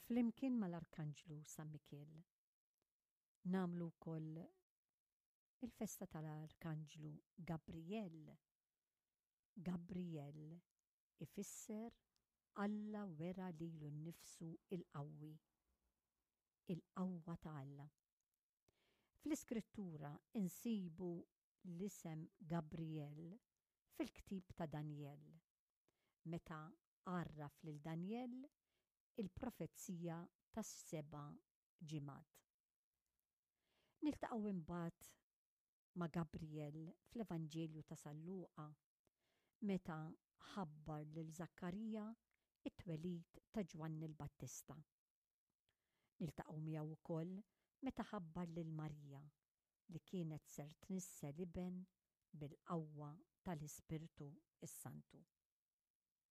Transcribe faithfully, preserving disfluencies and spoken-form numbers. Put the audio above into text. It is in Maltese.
Flimkien mal-Arkanġlu San Mikiel nagħmlu wkoll il-festa tal-Arkanġlu Gabriel. Gabriel ifisser Alla wera lilu nnifsu il-qawwi, il-qawwa ta' Alla. Fl-Iskrittura insibu l-isem Gabriel fil-ktib ta' Danjel, meta għarraf lil Danjel il-profezija tas-seba' ġimgħat. Niltaqgħu imbagħad ma' Gabriel fl-Evanġelju ta' San Luqa meta ħabbar lil Żakkarija it-twelid ta' Ġwanni l-Battista. Niltaqgħu miegħu wkoll meta ħabbar lil Marija li kienet ser tnissel iben bil-qawwa tal-Ispirtu s-Santu.